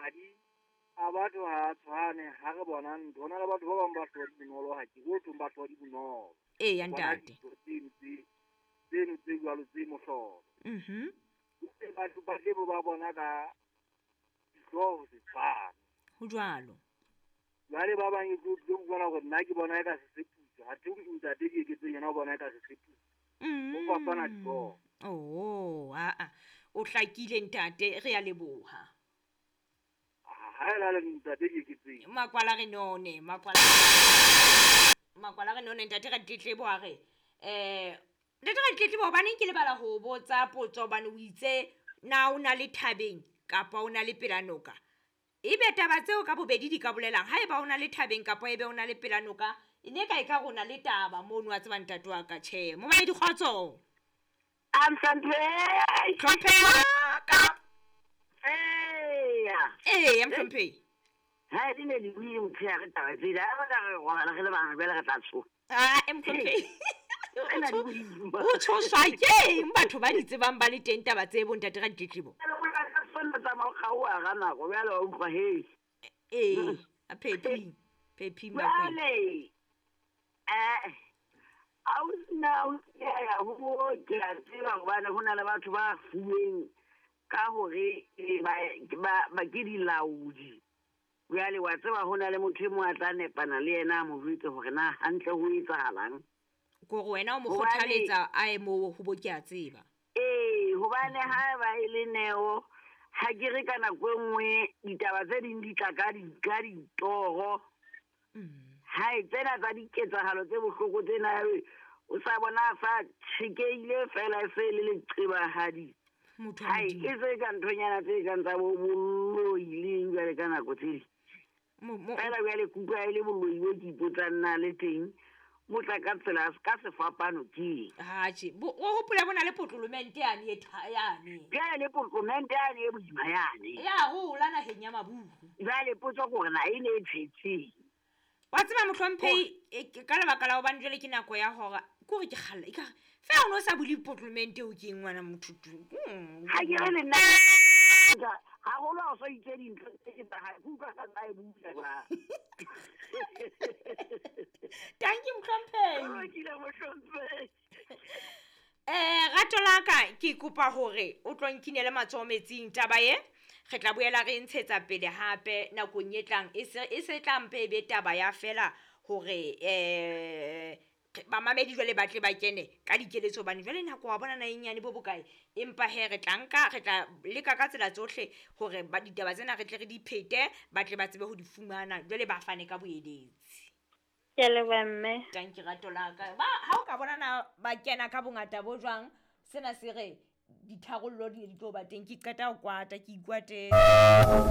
Madi a batho ha a tshwane ha re bona ntho. Ho na le batho ba bang ba hloha di bonolo ha ke ho thweng ba hloha di bonolo. Eya Bona ntate. dintho tseno tse tseno tse jwalo tse mohlolo. Batho ba tle ba bona ka dihlooho ho se tshwane. Ho jwalo. Jwale ba bang e tlo tlo utlwana hore nna ke bona eka se seputswa. Athe ntate Dieketseng yena o bona eka se seputswa. Ho fapana dihlooho. Oh, aa. O hlakile ntate, re a leboha. Ha e la le ntate Dieketseng. Makwala re none, makwala. Makwala re none ntate Raditlebo a re ntate Raditlebo hobaneng ke lebala ho botsa potso hobane o itse na o na le thabeng kapa o na le pela noka. Ebe taba tseo ka bobedi di ka bolelang haeba o na le thabeng kapa ebe o na le pela noka e ne ka e ka rona le taba mono wa tseba ntate wa ka tjhe. Momamedi kgotso. I'm Hlomphehi. Hlomphehi wa ka. Eya. Eya Mhlomphehi. Ha di ne di buile motshehare taba tsena, ha re ka re robala re le bang jwale re tla tshoha. Ah, Mhlomphehi. Tsena di boima. O tshoswa ke eng batho ba di tsebang ba le teng taba tse bo ntate Raditlebo? Jwale o la ka sonna tsamaya o kgaoha ka nako, jwale wa utlwa he. Ee, a phephi. Phephi Makweng. Jwale, ausi na o ya ho bo ke a tseba hobane ho na le batho ba fuweng ka hore ba ke dilaodi. Jwale wa tseba ho na le motho e mong a tla nepana le yena a mo jwetse hore na hantle ho etsahalang. Kore wena o mo Hobane kgothaletsa a ye moo ho bo ke a tseba. Ee, hobane ha eba e le neo, ha ke re ka nako e nngwe ditaba tse ding di tla ka ditoro. Hai, tsena tsa diketsahalo tse bohloko tsena, o sa bona sa tjhekehile fela e se le leqebahadi. Motho wa Hai, Modimo. e se ka nthonyana tse kang tsa bo boloi le jwale ka nako tse ding. Fela jwale ke utlwa e le boloi bo ke ipotsang na le teng, bo tla ka tsela ka sefapano ke eng? Atjhe, o hopola bona le potlolomente yane e yane. Jwale le potlolomente yane e boima yane. Ya hola naheng ya maburu. Jwale potso ke hore na e ne e tshetseng. Wa tseba mohlomphehi, ka lebaka la hobane jwale ke nako ya hora, ke hore ke kgalla, ekare feela o no sa bule potlolomente eo ke eng ngwana motho tu. Ha ke re le nna, haholo ha o so itse dintho tse ke tsa hae, ke utlwa ka tsa e bula jwang. Thank you, mohlomphehi. Ke lokile, mohlomphehi. Rato la ka, ke kopa hore o tlo nkinele matsoho metsing taba e. Re tla boela re ntshetsa pele hape nakong e tlang. E se tla mpe e be taba ya fela hore bamamedi jwale ba tle ba kene ka dikeletso hobane jwale nako wa bona na e nyane bo bokae. Empa he re tla nka, re tla leka ka tsela tsohle hore ba ditaba tsena re tle re di phete, ba tle ba tsebe ho di fumana, jwale ba fane ka boeletsi. Ke a leboha mme. Thank you, rato la ka. Ba, ha o ka bona na ba kena ka bongata bo jwang, sena se re ditharollo di ne di tlo ba teng. Ke qeta ho kwata, ke ikwatetse.